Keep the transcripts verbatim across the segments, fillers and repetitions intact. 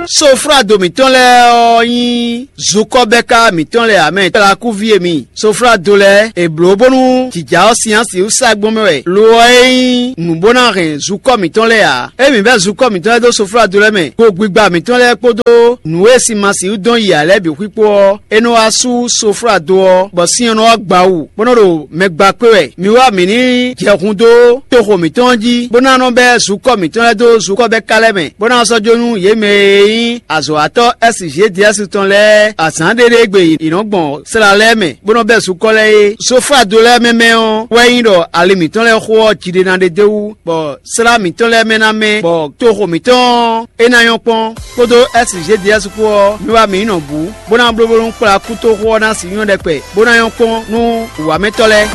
Soflado mǐtɔn lɛ́ɛ ɔ́ nyí zukɔ́bɛ́ká mǐtɔn lɛ́ɛ ǎ mɛ. Kplakúví e mi, Soflado lɛ́ɛ, è blǒ bónú jǐjá ɔ́ sin ɔ́ sixú sá gbɔn mɛ wɛ. Lo ɔ́ é nyí nǔ bó ná hɛn zukɔ́ mǐtɔn lɛ́ɛ ǎ. Ényí mǐ bɛ́ zukɔ́ mǐtɔn lɛ́ɛ dó soflado lɛ́ɛ mɛ, kpó gbigba mǐtɔn lɛ́ɛ kpódó nǔ e sin ma sixú dɔn yi ǎ lɛ́ɛ bǐ xwíxwó ɔ́, é nɔ wá sú soflado ɔ́, bɔ sin ɔ́ nɔ wá gba wú, bó nɔ ɖo mɛ gba kpé wɛ. Mi wá mǐ ní jɛ hun dó toxo mǐtɔn ɔ́ jí, bó ná nɔ bɛ́ zukɔ́ mǐtɔn lɛ́ɛ dó zukɔ́ bɛ́ ka lɛ́ɛ mɛ, bó ná sɔ́ jó nú yě mɛ e nyí azɔ̌watɔ́ S G D S tɔn lɛ́ɛ azǎn ɖé ɖé gbe yě nɔ gbɔn sla lɛ́ɛ mɛ, bó nɔ bɛ́ zukɔ́ lɛ́ɛ é. Soflado lɛ́ɛ mɛ mɛ ɔ́ wɛ nyí ɖɔ ali mǐtɔn lɛ́ɛ xo ɔ́, jiɖena ɖé d'é wú, bɔ slá mǐtɔn lɛ́ɛ mɛ ná mɛ, bɔ toxo mǐtɔn ɔ́, é ná nyɔ́ kpɔ́n, kpódó S G D S kpó ɔ́, mi wá mǐ nɔ bǔ, bó ná bló bónú kplá kútoxo ɔ́ ná sixú nyɔ́ ɖɛkpɛ, bó ná nyɔ́ kpɔ́n nú wǎmɛtɔ́ lɛ́ɛ.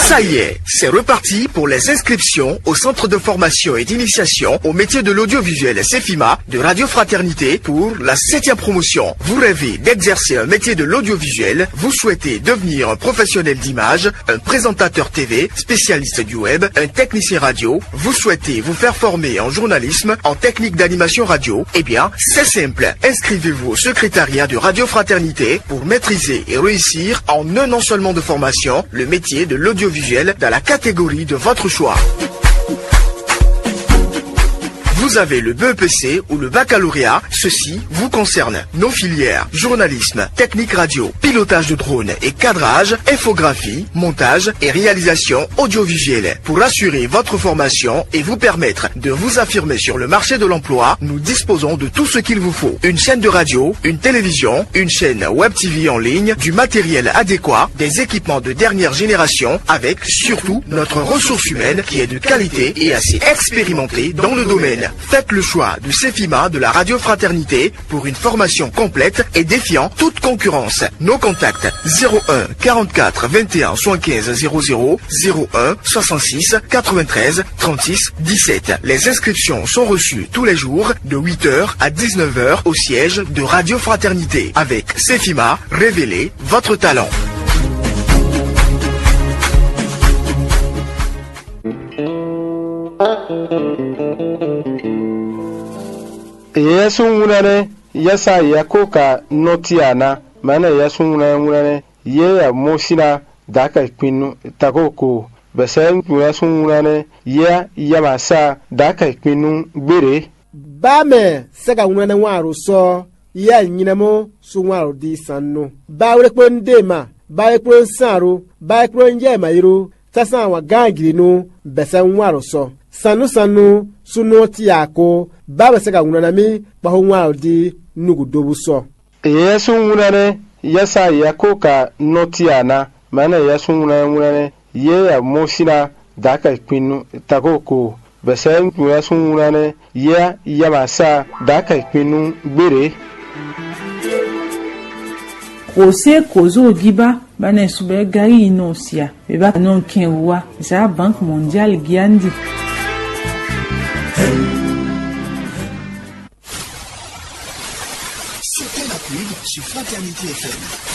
Ça y est, c'est reparti pour les inscriptions au Centre de formation et d'initiation au métier de l'audiovisuel, CEFIMA, de Radio Fraternité pour la septième promotion. Vous rêvez d'exercer un métier de l'audiovisuel ? Vous souhaitez devenir un professionnel d'image, un présentateur T V, spécialiste du web, un technicien radio ? Vous souhaitez vous faire former en journalisme, en technique d'animation radio ? Eh bien, c'est simple. Inscrivez-vous au secrétariat de Radio Fraternité pour maîtriser et réussir en un an seulement de formation le métier de l'audiovisuel dans la catégorie de votre choix. Vous avez le B E P C ou le baccalauréat, ceci vous concerne. Nos filières, journalisme, technique radio, pilotage de drone et cadrage, infographie, montage et réalisation audiovisuelle. Pour assurer votre formation et vous permettre de vous affirmer sur le marché de l'emploi, nous disposons de tout ce qu'il vous faut. Une chaîne de radio, une télévision, une chaîne web T V en ligne, du matériel adéquat, des équipements de dernière génération, avec surtout notre ressource humaine qui est de qualité et assez expérimentée dans le domaine. Faites le choix de CEFIMA, de la Radio Fraternité, pour une formation complète et défiant toute concurrence. Nos contacts : zéro un quarante-quatre vingt et un soixante-quinze zéro zéro, zéro un soixante-six quatre-vingt-treize trente-six dix-sept. Les inscriptions sont reçues tous les jours de huit heures à dix-neuf heures au siège de Radio Fraternité. Avec CEFIMA, révélez votre talent. Yɛsúnwúnánɛ́, yɛsa Yakoka nɔ́ Tiana, mɛ̌nɛ Yɛsúnwúnánɛ́, yɛ Mosina, dǎkɛ kpin nú Takoko, bɛ̌sɛ́ Yɛsúnwúnánɛ́, yɛ Yamasa, dǎkɛ kpin nú Gbére. Bá mɛ sɛ́ ka wlán wán aɖo sɔ́, yɛ nyi nɛ́ mɔ sú wán aɖo dí sannú. Bá wlé kplɔ́n Dema, bá wlé kplɔ́n Sanro, bá wlé kplɔ́n Yɛmayro, sásán wǎn gán gǐlínú, bɛ̌ sɛ́ wán aɖo sɔ́. Sannú sannú, súnnu ɔ́ cí ǎ kó, bá mɛ sɛ́ ka wlán ná mì, kpɔ́xó wán aɖo dí nǔgǔdóbú sɔ́. Yɛsúnwúnánɛ́, yɛsa Yakoka nɔ́ Tiana, mɛ̌nɛ Yɛsúnwúnánɛ́, yɛ Mosina, dǎkɛ kpin nú Takoko, bɛ̌sɛ́ Yɛsúnwúnánɛ́, yɛ Yamasa, dǎkɛ kpin nú Gbére. Kò sé kò zó gíba, bá nɛ subɛ gari yi nɔ sia, bɛ ba nɔ kɛn wa, za Banque Mondiale giandi. C'était la pub sur Fraternité F M.